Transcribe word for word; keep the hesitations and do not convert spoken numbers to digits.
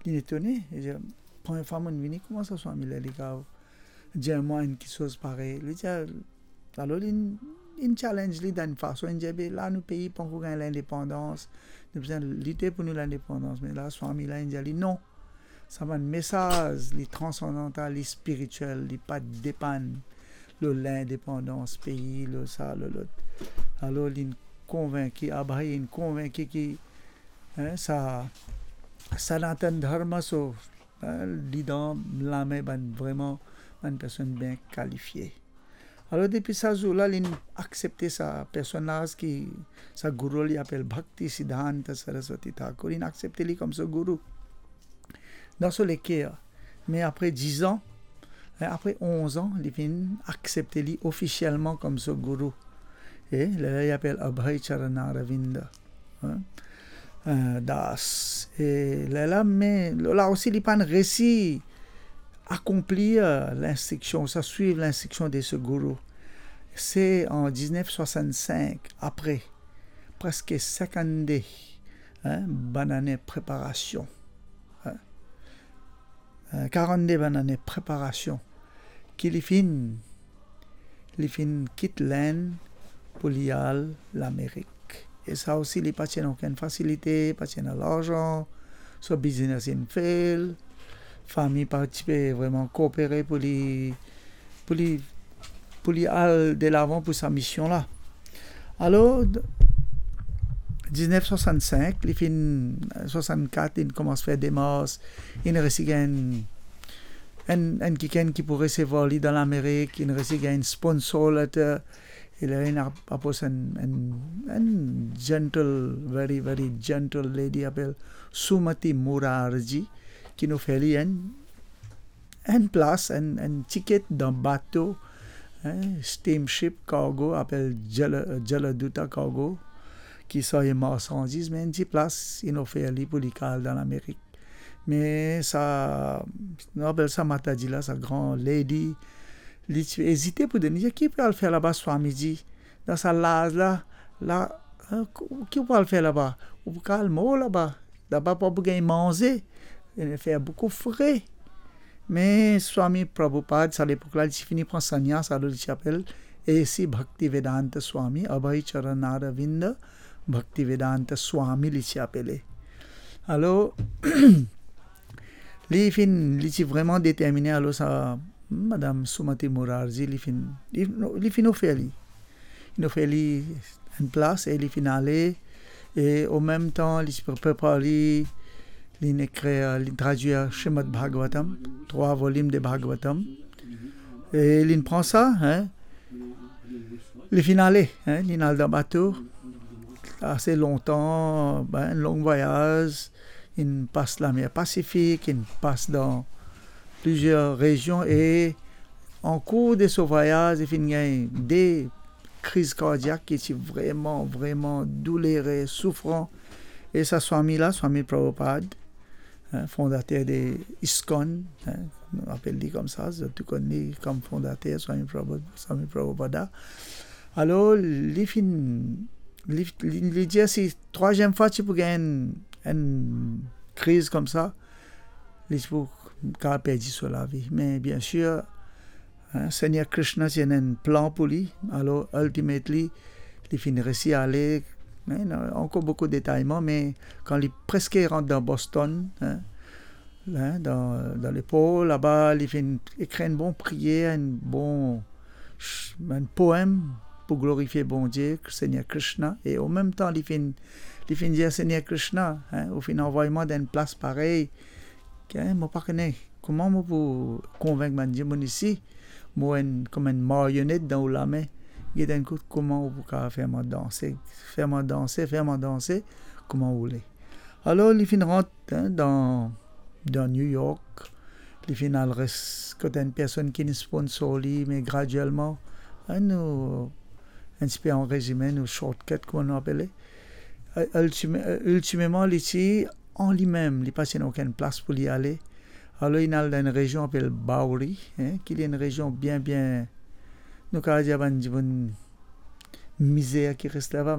Li etone, li dir, "Premie fwa mo'nn vini, kouma sa swami la, li kav dir mwa enn kiksoz parey?" Li dir, alor li, li challenge li dan enn fason, li dir, "Be la, nou pei pankor gagn lindepandans, nou bizin lite pou nou lindepandans." Me la, swami la, li dir li, "Non, sa bann mesaz, li transandantal, li spiritiel, li pa depann lor lindepandans pei, lor sa, lor lot." Alor, li konvinki, Abhay inn konvinki ki, hein, sa, Sanatan Dharma so, hein, li dan lame bann, vreman, bann personn bien kalifie. Alor, depi sa zour la, linn aksepte sa personaz ki, sa gourou, li apel Bhakti Siddhanta Saraswati Thakur, linn aksepte li kom so gourou dan so leker. Me apre diz an, apre onz an, li finn aksepte li ofisielman kom so gourou. E lerla li apel Abhay Charan Aravinda, hein, euh, Das. E lerla, me la osi, li pa'nn resi akonplir linstriksion, sa swiv linstriksion de so gourou. Se an diznef swasann-sink, apre preske sinkant-de, hein, bann ane preparasion, hein, euh, karant-de bann ane preparasion, ki li finn, li finn kit Lenn pou li al Lamerik. E sa osi, li pa ti ena okenn fasilite, pa ti ena larzan, so biznes inn fail, fami pa ti pe vreman koopere pou li, pou li, pou li al delavan pou sa mision la. Alor, diznef swasann-sink, li finn, swasann-kat, linn koumans fer demars, linn resi gagn enn, enn kikenn ki pou resevwar li dan Lamerik, linn resi gagn sponsor letter, e la linn ap-, apros enn, enn, enn gentle, very, very gentle lady apel Sumati Murarji, ki'nn ofer li enn, enn plas, enn, enn tiket dan bato, hein, steamship cargo, apel Jala-, Jaladuta Cargo, ki sarye marsandiz, me enn ti plas inn ofer li pou li al dan Lamerik. Me sa, nou apel sa Mataji la, sa gran lady, li ti ezite pou donn li, ki pou al fer laba, Swamiji? Dan sa laz la, la, hein, ki pou al fer laba? Ou pou al mor laba. Laba pa pou gagn manze, e fer boukou fre. Me Swami Prabhupada, sa lepok la, li ti fini pran sannyas, alor li ti apel esi Bhaktivedanta Swami, Abhay Charan Aravinda Bhaktivedanta Swami, li ti apele. Alor, li finn, li ti vreman determine, alor sa Madam Sumati Murarji, li finn, li, li finn ofer li. Li ofer li enn plas e li finn ale. E an mem tan, li ti pre-, prepar li, linn ekrir, linn tradwir Srimad Bhagavatam, trwa volim de Bhagavatam. E linn pran sa, hein, li finn ale, hein, linn al dan bato, ase lontan, ben, long vwayaz, linn pas Lamer Pasifik, linn pas dan plizier rezion, e an kour de so vwayaz, li finn gagn de kriz kardiak ki ti vreman, vreman doulere, soufran. E sa Swami la, Swami Prabhupada, hein, fondater de ISKCON, hein, nou apel li koumsa, zot tou konn li kom fondater, Swami Prabhu-, Swami Prabhupada. Alor, li finn, li, li, li dir si trwaziem fwa ti pou gagn enn, enn kriz koumsa, li ti pou kapav perdi so lavi. Me biensir, hein, Segner Krishna ti ena enn plan pou li. Alor, ultimately, li finn resi ale, hein, ankor boukou detayman, me kan li preske rant dan Boston, hein, hein, dan, dan lepor laba, li finn ekrir enn bon priyer, enn bon ch-, enn poem pou glorifie Bondie, Segner Krishna, e an mem tan, li finn, li finn dir, "Segner Krishna, hein, ou finn anvway mwa dan enn plas parey, hein, mo pa kone kouma mo pou konvink bann dimoun isi, mo enn, kouma enn marionet dan ou lame, get enn kout kouma ou pou kapav fer mwa danse, fer mwa danse, fer mwa danse, kouma ou le." Alor, li finn rant, hein, dan, dan New York, li finn al res kot enn personn ki finn sponsor li, me graduelman, hein, nou, enn tipe an rezime, nou shortcut, kouma nou apele. Ultime-, ultimeman, li ti an limem, li pa ti ena okenn plas pou li ale. Alor, linn al dan enn rezion apel Bowery, hein, ki li enn rezion bien, bien, nou kapav dir bann dimoun mizer ki res laba,